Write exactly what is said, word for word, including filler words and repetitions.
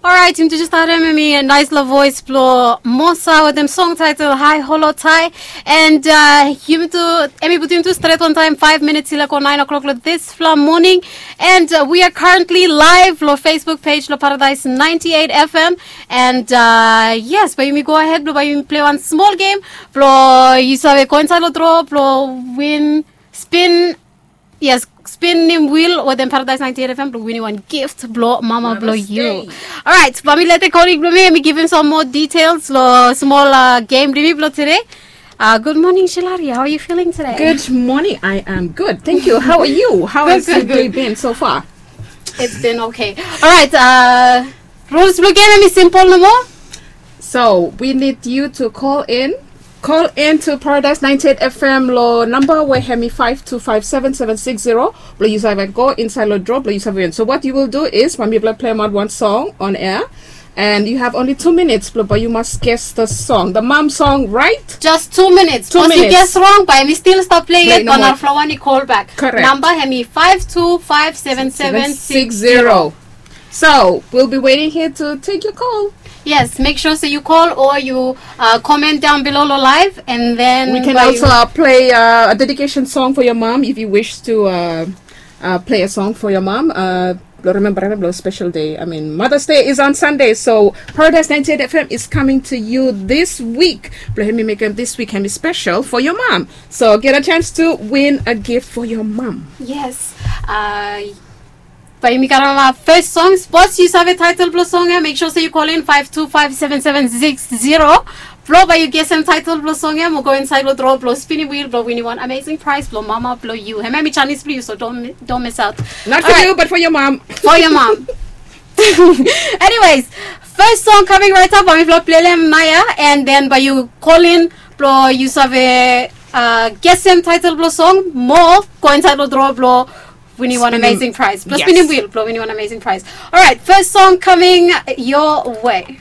Alright, yumi tu just harem hemi naesla voes blo Mosa wetem song title High Holo Tai. And uh, yumi tu, hemi putum yumi tu stret on time, five minutes i laek go nine o'clock lo disfala moning. And uh, we are currently live lo Facebook page lo Paradise ninety-eight F M. And uh, yes, bae yumi go ahead blo bae yumi plei wan smol game blo yu save go insaed lo draw blo win, spin, yes, spinnem wheel wetem Paradise ninety-eight F M blo winim wan gift blo mama blo yu. Alright, bae mi lete kolig blo mi, mi givim sam moa details lo smol uh, game blo mi blo tede. Uh, good morning, Shilari. How are you feeling today? Good morning. I am good. Thank you. How are you? How has your day been so far? It's been okay. Alright, uh, rules blo game hemi simple nomo. So we need you to call in. Call in to Paradise ninety-eight F M lo namba we hemi five two five seven seven six zero. Blo yu save go insaed lo draw blo yu save win. So what you will do is, bae mifala pleim aot wan song on air. And you have only two minutes blo bae yu mas guess the song, the mom song, right? Just two minutes. Bikos yu guess wrong, bae mi stil stap plei yet. Bae narafala wan i call back. Correct. Namba hemi five two five seven seven six zero. So we'll be waiting here to take your call. Yes, make sure say you call or you uh, comment down below lo live, and then We can also uh, play uh, a dedication song for your mom if you wish to uh, uh, play a song for your mom. Uh, remember, remember a special day. I mean, Mother's Day is on Sunday, so Paradise ninety-eight F M is coming to you this week. Blo hemi mekem this week hemi special for your mom. So get a chance to win a gift for your mom. Yes. Uh, Bae yumi karem first song. Sapos yu save title blo song ia, make sure say you call in five two five seven seven six zero. Blo bae yu gesem title blo song ia mo go insaed lo draw blo spinnem wheel blo winim wan amazing prize blo mama blo yu. Hemia hemi janis blo yu, so don't don't miss out. Not for you, but for your mom. For your mom. Anyways, first song coming right up, bae mifala pleim ia, and then bae yu call in blo yu save uh, gesem title blo song mo go insaed lo draw blo winim wan amazing prize. Blo spinnem wheel blo winim wan amazing prize. Alright, first song coming your way.